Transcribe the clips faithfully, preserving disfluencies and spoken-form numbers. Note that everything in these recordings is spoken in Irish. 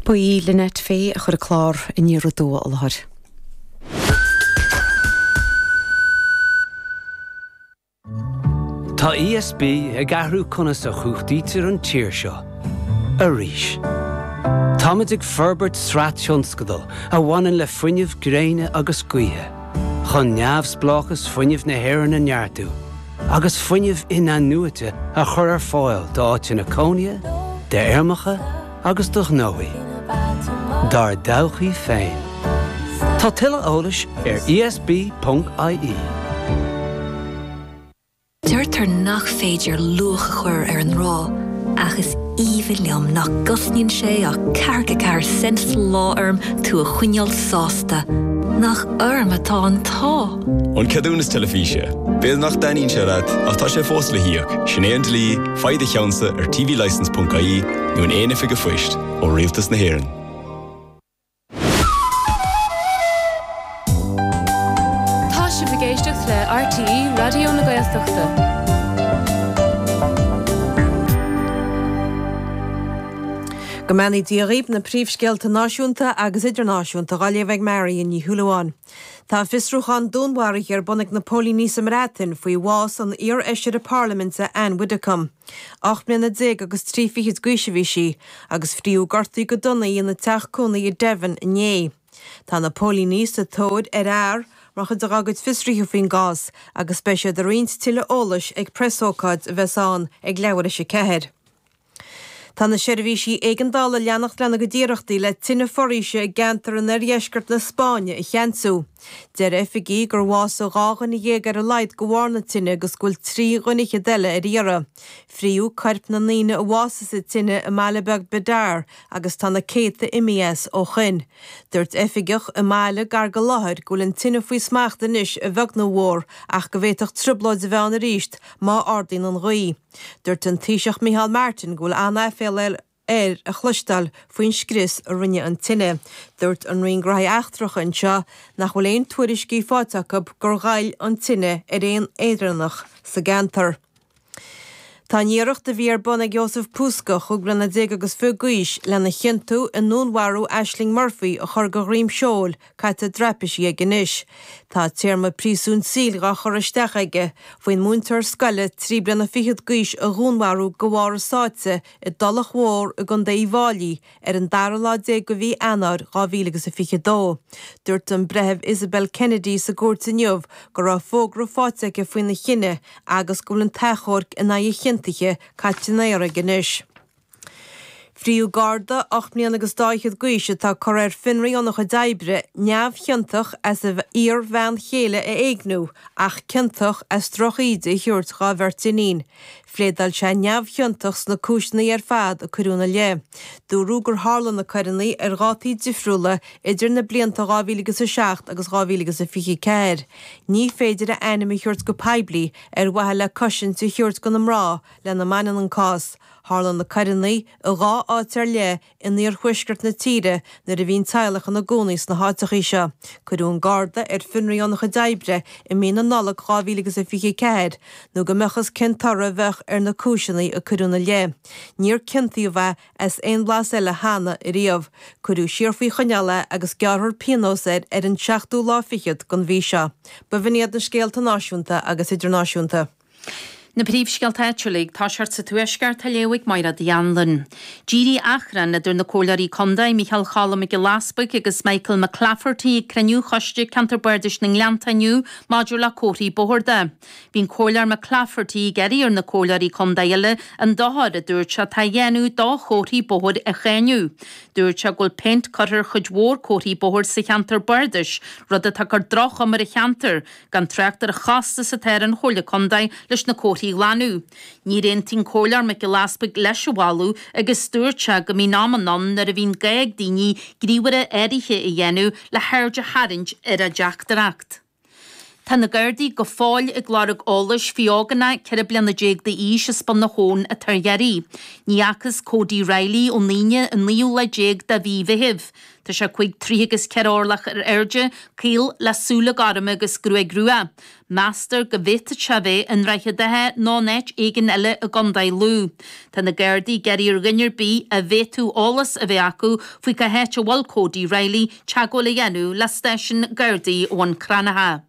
Ba í Lynette Fay a chuir an clár Aniar Aduaidh i láthair. Tá ESB ag athrú conas a chumhachtaítear an tír seo. Arís. Táimid ag forbairt sraith tionscadal a bhaineann le fuinneamh gréine agus gaoithe, chun neamhspleáchas fuinnimh na hÉireann a neartú, agus fuinneamh in-athnuaite a chur ar fáil d'áiteanna cónaithe, d'fheirmeacha agus do ghnóthaí. Dár dtodhchaí féin. Tá tuilleadh eolais ar ESB.ie. Deirtear nach féidir luach a chur ar an ngrá, ach is aoibhinn liom nach gcosnaíonn sé ach ceathracha ceathair cent sa lá orm tú a choinneáil sásta. Nach orm atá an t-ádh! An Ceadúnas Teilifíse. B'fhéidir nach dtaitníonn sé leat, ach tá sé fós le híoc. Sin é an dlí, faigh do cheannsa ar tvlicence.ie nó in aon oifig an phoist ó Rialtas na hÉireann. Tá sibh ag éisteacht le RTÉ Raidió na Gaeltachta. Go mbeannaí Dia dhaoibh na príomhscéalta náisiúnta agus idirnáisiúnta á léamh ag Marion Ní Shúilleabháin. Tá fiosrúchán dúnmharaithe ar bun ag na póilíní sa mBreatain faoi bhás an iar-fheisire parlaiminte Ann Widdecombe. Ocht mbliana déag agus trí fichid d'aois a bhí sí, agus fríothadh gortaí go dona í ina teach cónaí i Devon inné. Tá na póilíní sa tóir ar fhear mar chuid dá gcuid fiosruithe faoin gcás agus beidh siad ag roinnt tuilleadh eolais ag preasócáid a bheas ann ag leathuair théis a ceathair. Tá na seirbhísí éigeandála ag leanacht lena gcuid iarrachtaí le tine foraoise i gceantar in oirdheisceart na Spáinne a cheansú. Deir oifigigh gur bhásaigh dhá dhuine dhéag ar a laghad de bharr na tine agus go bhfuil trí dhuine fhichead eile ar iarraidh. Fríothadh coirp na ndaoine a bhásaigh sa tine i mbaile beag Bidar agus tá na céadta imithe as ó shoin. Dúirt oifigeach i mbaile gar don láthair go bhfuil an tine faoi smacht anois a bheag nó a mhór ach go bhféadfadh trioblóid a bheith ann arís má ardaíonn an ghaoth. Dúirt an Taoiseach Micheál Martin go bhfuil an-aiféala air a chloisteáil faoin scrios a rinne an tine. Dúirt an Roinn Gnóthaí Eachtracha anseo nach bhfuil aon tuairiscí faighte acu gur ghoill an tine ar aon Éireannach sa gceantar. Tá an iarracht a bhí ar bun ag Jozef Puska, chúig bliana déag agus fiche d'aois, lena chiontú i ndúnmharú Ashling Murphy a chur de dhroim seoil caite i dtraipisí aige anois. Tá téarma príosúin saoil dhá chur isteach aige faoin múinteoir scoile trí bliana fichead d'aois a dhúnmharú de bharr a sáite i dTulach Mhór i gContae Uíbh Fhailí ar an dara lá déag de mhí Eanáir dhá mhíle agus a fiche dó. Dúirt an Breitheamh Isabel Kennedy sa gcúirt inniu go raibh fógra faighte aici faoina chinneadh agus go bhfuil an t-achomharc in aghaidh a chiontaithe caite in aer aige anois. Fríothadh Garda ocht mbliana agus dá fhichead d'aois atá curtha ar fionraí óna chuid oibre, neamhchiontach as a iar-bhean chéile a éigniú ach ciontach as drochíde a thabhairt dhá bheirt iníon. Phléadáil sé neamhchiontach sna cúiseanna ar fad a cuireadh ina leith. Dúradh gur tharla na coireanna ar dhátaí difriúla idir na blianta dhá mhíle agus a seacht agus dhá mhíle agus a fiche ceathair. Ní féidir a ainm a thabhairt go poiblí ar mhaithe le cosaint a thabhairt do na mná lena mbaineann an cás. Tharla na coireanna i dhá áit ar leith in iarthuaisceart na tíre nuair a bhí an teaghlach ina gcónaí sna háiteachaí seo. Cuireadh an Garda ar fionraí óna chuid oibre i mí na Nollag dhá mhíle agus a fiche ceathair nó go mbeadh fhios cén toradh a bheadh ar na cúiseanna a cuireadh ina leith. Níor ciontaíodh é as aon bhlas eile cheana ariamh. Cuireadh siar faoi choinneáil é agus gearrfar pionós air ar an seachtú lá fichead den mhí seo. B'in iad na scéalta náisiúnta agus idirnáisiúnta. Na príomhscéalta áitiúla ag toiseacht sa Tuaisceart á léamh ag Máire Uí Anluain. D'éirigh achrann idir na Comhairleoirí Contae, Micheál Cholm Mac Giolla Easbuig agus Michael McClafferty ag cruinniú Choiste Ceantar Bardais na nGleannta inniu maidir le comharthaí bóthair de. Bhí an Comhairleoir McClafferty ag iarraidh ar na Comhairleoirí Contae eile an dochar a dúirt sé atá á dhéanamh do chomharthaí bóthair a cháineadh. Dúirt sé go bhfuil péint curtha ar chuid mhór comharthaí bóthair sa cheantar bardais, rud atá ag cur droch-chuma ar an cheantar, gan trácht ar an chostas atá ar an Chomhairle Contae leis na comharthaí a ghlanadh. Níor aontaigh an Comhairleoir Mac Giolla Easbuig leis an mholadh agus dúirt sé go mbíonn amanna ann nuair a bhíonn gá ag daoine gníomhartha áirithe a dhéanamh le haird a tharraingt ar a dteachtaireacht. Tá na Gardaí go fóill ag lorg eolais faoi ógánach ceithre bliana déag d'aois as Bun na hAbhann atá ar iarraidh. Ní fhacthas Cody Riley ón Aoine an naoú lá déag de mhí Mheithimh. Tá sé cúig troigh agus ceithre orlach ar airde, caol le súile gorma agus gruaig rua. Meastar go bhféadfadh sé a bheith i nDroichead Átha nó in áit éigin eile i gContae Lú. Tá na Gardaí ag iarraidh ar dhuine ar bith a bhféadfadh eolas a bheith acu faoi cá háit a bhfuil Cody Riley teagmháil a dhéanamh le stáisiún Gardaí Bhun Cranncha.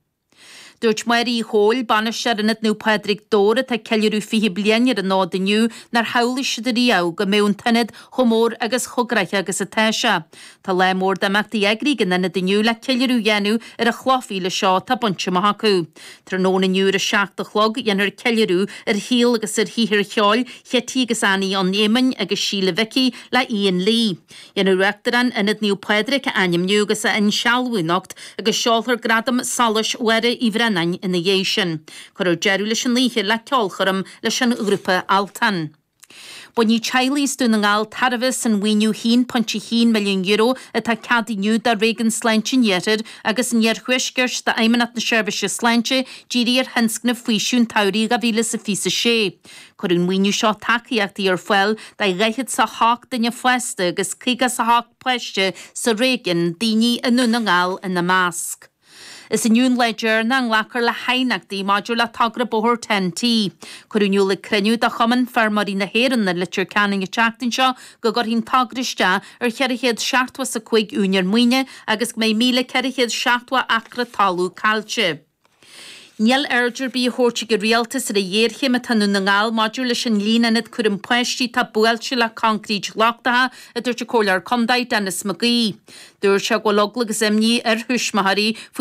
Dúirt Máire Uí Chomhail, bainisteoir Ionad Naomh Pádraig Dobhair atá ag ceiliúradh fiche bliain ar an fhód inniu nár shamhlaigh siad riamh go mbeadh an t-ionad chomh mór agus chomh gnaitheach agus atá sé. Tá lá mór d'imeachtaí eagraithe ag an ionad inniu le ceiliúradh a dhéanamh ar an chloch mhíle seo atá bainte amach acu. Tráthnóna inniu ar a seacht a chlog dhéanfar ceiliúradh ar shaol agus ar shaothar cheoil Chití agus Annie an Éamainn agus Síle Mhicí le Ian Lee. Dhéanfar Uachtarán Ionad Naomh Pádraig a ainmniú agus a insealbhú anocht agus seolfar Gradam Solais Mháire Uí Bhraonáin ina dhiaidh sin. Cuirfear deireadh leis an oíche le ceolchoirm leis an ghrúpa Altan. Bainfidh teaghlaigh as Dún na nGall tairbhe as an mhaoiniú haon pointe haon milliún euro atá ceadaithe inniu do Réigiún Sláinte an Iarthair agus an Iarthuaiscirt d'Fheidhmeannacht na Seirbhíse Sláinte dírithe ar thionscnamh Faoiseamh an tSamhraidh dhá mhíle is a fiche a sé. Cuirfidh an maoiniú seo tacaíochtaí ar fáil do dhaichead is a hocht duine fásta agus caoga is a hocht páiste sa réigiún, daoine i nDún na nGall ina measc. Is inniu an lá deireanach a nglacfar le haighneachtaí maidir le togra bóthair Ten T. Cuireadh in iúl ag cruinniú de Chumann Feirmeoirí na hÉireann i Leitir Ceanainn an tseachtain seo go gcuirfidh an togra isteach ar cheithre chéad seachtó is a cúig úinéir maoine agus go mbeidh míle ceithre chéad seachtó acra talún caillte. Níl aird ar bith á thabhairt ag an rialtas ar an ghéarchéim atá i nDún na nGall maidir leis an líon ionad cúram páistí atá buailte le concrete lochtacha, a dúirt an Comhairleoir Contae Denis McGee. Dúirt sé go bhfuil eagla agus imní ar thuismitheoirí